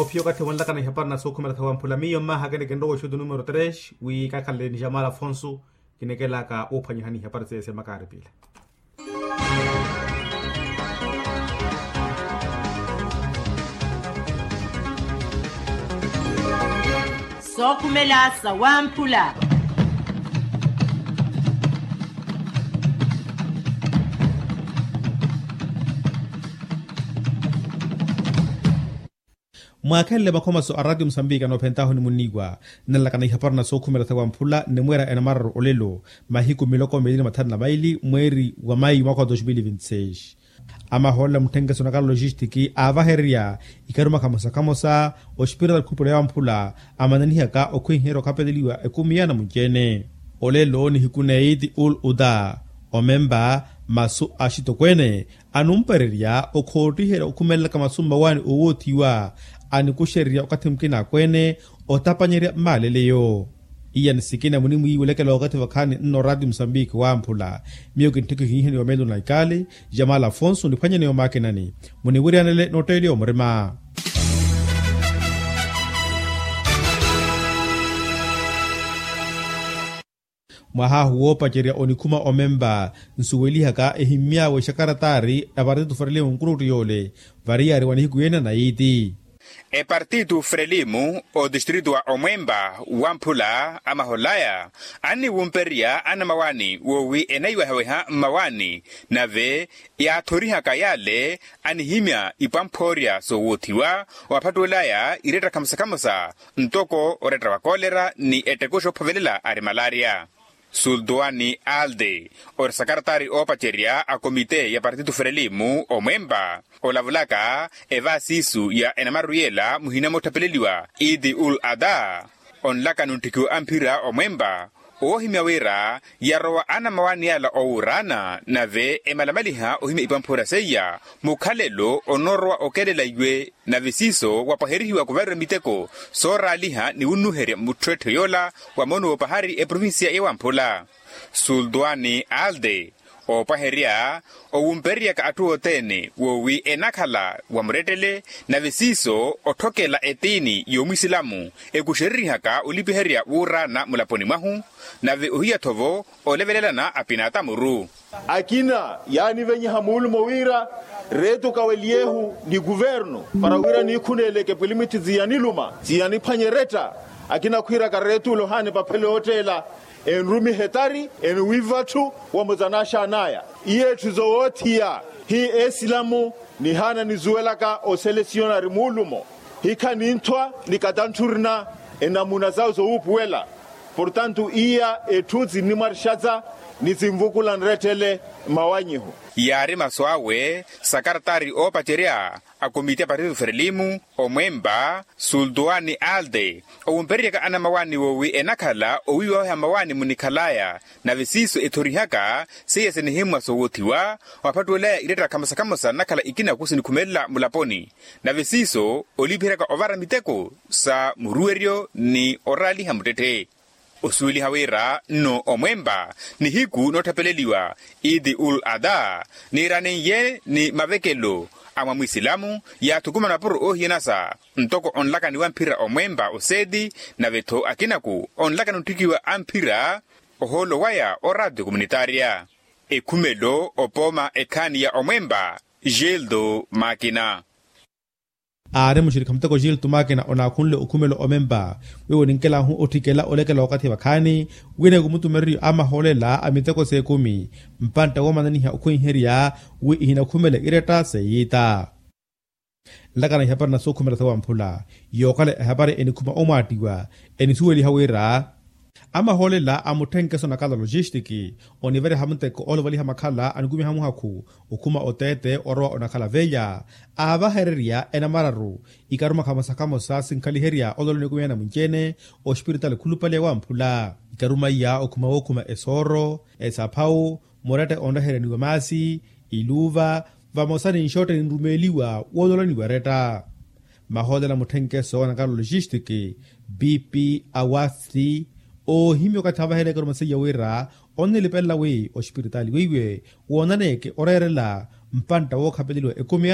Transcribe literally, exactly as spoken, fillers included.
Fiyo okathi wonlakana ihapari na sookhumela thawa mphula miyo mmaha kene kinrowa oxutu numero tres wi kakhalele ni jamal afonso. Kinekelaka woophwanyihani ihapari sese makaari pila. Sookhumela sawamphula. Mwaakhelele makhomaso a ratio musambiki anoophentahu ni munniiwa. Nnalakana ihapari na sookhumela thawa mphula nnimweera enamararu olelo mahiku miloko miili ni mathanu na maili mweeri wa mayi mwaka wa dos mili vinti seis. Amahoolela mutthenkeso na kala logistiki aavahererya ikharuma khamosa khamosa ospiritaali khupula ya wamphula amananihaka okhwiherya okhapeleliwa ekumi ya namunci-ene. Olelo nihiku na eiti ul uda omempa masu a axitokweene anumpererya okhoottiherya okhumelelaka masu mmawaani oowoothiwa anikuxererya okathi mukina akweene otapanyerya mmaaleleyo. Iya ni sikina munimwiiwelekela okathi vakhaani nno ratio musambiki wamphula. Miyo kintthikhu ihinheni wa melo na ikaali jamala afonso niphwanyeneyo makinani muniwiryanele nootteeliwa murima. Mwahaahu woopacerya onikhuma omempa nsuwelihaka ehimmyaawe exakaratari na partitu frelimo nkurutti yoole variyaari wa nihiku yeene na iiti. Epartitu frelimo otistritu wa omwempa wamphula amaholaya anniwumpererya anamawaani woowi enaiwehaweha mmawaani nave yaathorihaka yale anihimya ipwamphoorya soowothiwa waphattuwelaya iretta khamosa khamosa ntoko oretta wa kolera ni ettekuxa oophovelela ari malaria. Sultuwani alde ori sakaratari oopacerya a komite ya partitu frelimo omwempa olavulaka evaasiisu ya enamaru yela muhina moottapeleliwa idi ul ada onlaka nuntthikiwa amphira omwempa owoohimya wira yarowa anamawaani yala owuuraana nave emalamaliha ohimya ipwamphoorya seiya mukhalelo onoorowa okelela iwe nave siiso wapwaherihiwa kuvariwa miteko sooraaliha ni wunnuherya mutthu etthu yoola wa moono woopahari eprovincia ya wamphula. Sultuwani alde oopwaherya owumpereryaka atthu othene woowi enakhala wa murettele nave siiso otthokela etiini y'omwisilamu ekuxereryihaka olipiherya wuuraana mulaponi mwahu nave ohiya-tho-vo olevelelana apinatamuru. Akina yaanivenyiha muulumo wira reetu kaweliyehu ni kuvernu para wira niikhuneleke pwilimiti ziyaniluma ziyaniphwanye eretta. Akina khwiiraka reetu olohani paphelo yootteela enrumiha etari eniwiiva atthu wa muzanaxan'aya. Iye etthu zowoothiya hi esilamu nihaana nizuwelaka oselesiyonari muulumo hikha ninthwa ni katantthurina enamuna zawo zowuupuwela. Portantu iya etthu zinnimwarixaza ni zinvukula nrettele mmawanyihu. Yaari masu awe sakaratari oopacerya a komiti ya partitu frelimo omwempa sultuwani alde owumpereryaka anamawaani woowi enakhala owiiwaweha mmawaani munikhalaya nave siiso ethorihaka seiya sinihimmwa soowothiwa waphattuwelaya iretta khamosa khamosa nnakhala ikina kusinikhumelela mulaponi nave siiso olipiheryaka ovara miteko sa muruweryo ni oraaliha muttetthe. Osuweliha wira nno omwempa nihiku noottapeleliwa idi ul ada niiraneiye ni mavekelo a mwa mwisilamu yaathukumana mapuro oohiyanasa ntoko onlaka ni wamphira omwempa oseeti nave-tho akinaku onlaka nuntthikiwa amphira ohoolo waya o ratio komunitaria. Ekhumelo opooma ekhaani ya omwempa gildo makina. Aari muxirikha muteko gildo makina onaakhunle okhumelo omempa wiiwo ninkelahu otthikela olekela wakathi vakhaani wira ekumutumereryo a mahoolela a miteko s'ekumi mpantta woomananiha okhwenherya wi ihinakhumele iretta seiita. Nlakana ihapari na sookhumela sawamphula yookhala ehapari enikhuma omwaattiwa enisuweliha wira amahoolela a mutthenkeso na kala logistiki onivereha muteko ooluvaliha makhala anikumiha muhakhu okhuma oteete orowa onakhala veya aavahererya enamararu ikaruma khamosa khamosa sinkhaliherya ololo nikumiha na mwinci-ene ospiritaali khulupale wamphula ikaruma iya okhuma wookhuma esooro esaphawu murette onrehereniwa maasi iluuva vamosa ni nxotte ninrumeeliwa woololaniwa eretta. Mahoolela mutthenkeso wa nakala logistiki bp awasti oohimya okathi avahereke oruma seiya wira onnilipelela wi ospiritaali weiwe woonaneke oreerela mpantta wookhapeleliwa ekumi